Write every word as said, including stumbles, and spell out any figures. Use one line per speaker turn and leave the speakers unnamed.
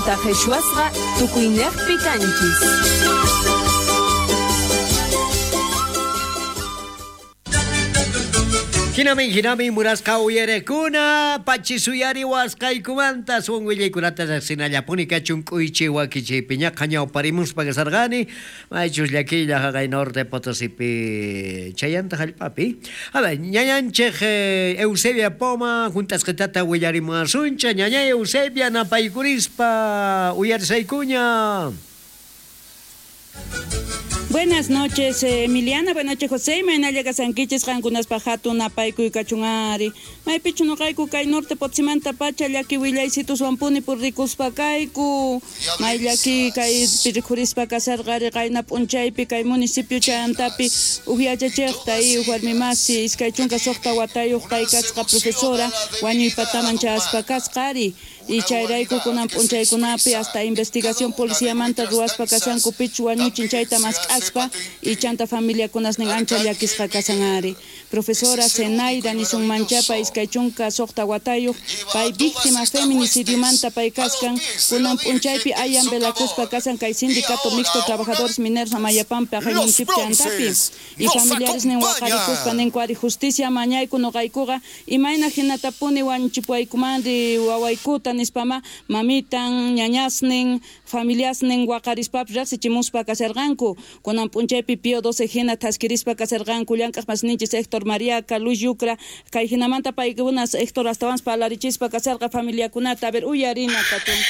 Chanta qhichwasqa tukuynejpi kanchis.
Hinamin, hinamin, murasqa uyarekuna, pachisuyari wasqaykumanta, suwan willaykunata riqsinallapuni kachun k'uychi wakichiypi ñaqa ñawparimuspa kasarqani, maychus llakiylla haqay Norte Potosipi chayanta hallp'api. A ver, ñañanchej Eusebia Poma hunt'asqitata willarimuwasuncha, ñañay Eusebia napaykurispa uyarisaykuña.
Buenas noches, Emiliana, buenas noches, José. Maynalla kasankichis qankunaspa hatun napaykuy kachunari. Maypichu noqayku kay Norte Potsimanta pacha llaki willaysitus wampuni purrikuspa kayku. May llaki kay pirikhurispa kasarqari qayna p'unchaypi kay municipio chayantapi uj yachachejta y uj warmimasi iskay chunka suqta watayuq pay kasqa profesora wañuypataman chayaspa kasqari. Y chayrayku kunan p'unchaykunapi hasta investigación policiamanta ruwaspa kasanku pichu wañuchin chayta mask'aspa y chanta familiakunasnin ancha llakisqa kasanari. Profesora Zenaida nisun manchapa iskay chunka suqta watayuq pay víctima feminicidiomanta pay kaskan kunan p'unchaypi ayan velakuspa kasan kay sindicato mixto trabajadores mineros Amayapampa haqay municipio chantapi. Y familiaresnin waqarikuspa ninkuari justicia mañayku noqaykuqa imayna hinatapuni wañuchipuaykumanri wawaykuta nispama mamitan ñañasnin familiasnin waqarispapis riqsichimuspa kasarqanku. Kunan p'unchaypi Pío doce hina thaskirispa kasarqanku llank'aq masninchis Héctor Mariaca, Luis Yucra, kay hinamanta paykunas Héctor astawanpas parlarichispa kasarqa familiakunata. A ver, uyarina kachun.